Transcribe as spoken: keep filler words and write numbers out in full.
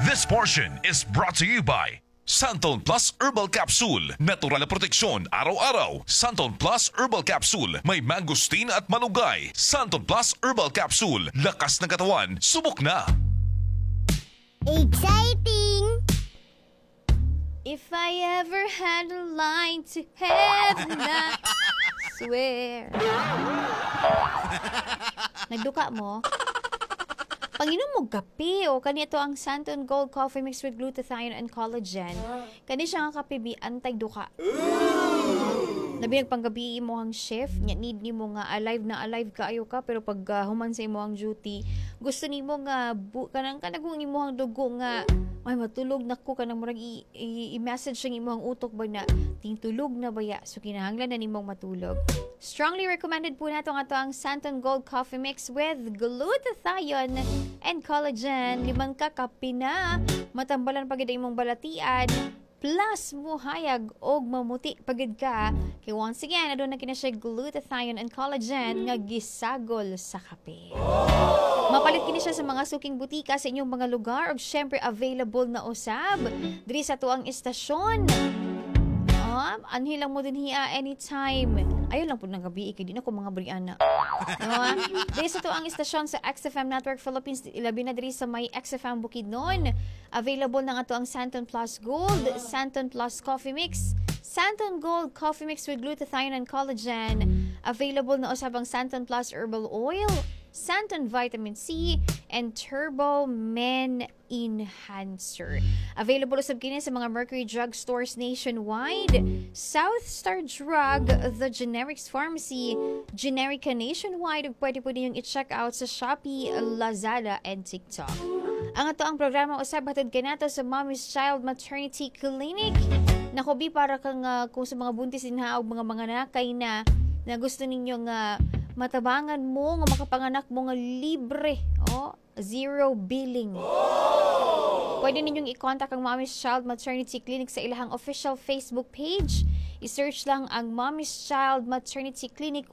This portion is brought to you by Santon Plus Herbal Capsule. Natural na proteksyon araw-araw. Santon Plus Herbal Capsule. May mangosteen at malunggay. Santon Plus Herbal Capsule. Lakas ng katawan. Subok na. Exciting! If I ever had a line to heaven, I swear. Nagduka mo? Panginom mo kape o kani ito ang Santon Gold Coffee Mix with glutathione and collagen. Kani siya nga kape bi antay duka. Labi nagpanggabi imo ang shift, nya need nimo nga alive na alive kaayo ka, pero pag uh, human sa imo ang duty, gusto nimo nga bu, kanang kanagong imo ang dugo nga ay matulog nako, kanang murag i- i- i-message ang imong utok ba na tingtulog na baya, so kinahanglan na nimong matulog. Strongly recommended po nato nga to ang Santon Gold Coffee Mix with glutathione and collagen. Limang ka kape na matambalan pagid ang imong balatian, plus muhayag og mamuti pagid ka kay once again, aduna kina siya glutathione and collagen nga gisagol sa kape. Mapalit kini siya sa mga suking butika sa inyong mga lugar ug syempre available na usab diri sa tuang istasyon. Ah, anhi lang mo dinhi anytime. Ayaw lang po ng gabi, kay di na ko mga briana. No, ah? Diri sa tuang istasyon sa X F M Network Philippines, ilabi na diri sa may X F M Bukidnon. Available na nga to ang Santon Plus Gold, Santon Plus Coffee Mix, Santon Gold Coffee Mix with glutathione and collagen. Available na usab ang Santon Plus Herbal Oil, Santon Vitamin C, and Turbo Men Enhancer. Available usab kini sa mga Mercury Drug stores nationwide, South Star Drug, The Generics Pharmacy, Generica nationwide, ug pwede po ninyong i-check out sa Shopee, Lazada, and TikTok. Ang ato ang programa usab hatod kanato sa Mommy's Child Maternity Clinic. Nako bi, para kang ah, kung sa mga buntis dinha og mga manganakay na na gusto ninyo nga matabangan mo nga makapanganak mo nga libre, oh, zero billing. Pwede ninyong i-contact ang Mommy's Child Maternity Clinic sa ilahang official Facebook page. I-search lang ang Mommy's Child Maternity Clinic.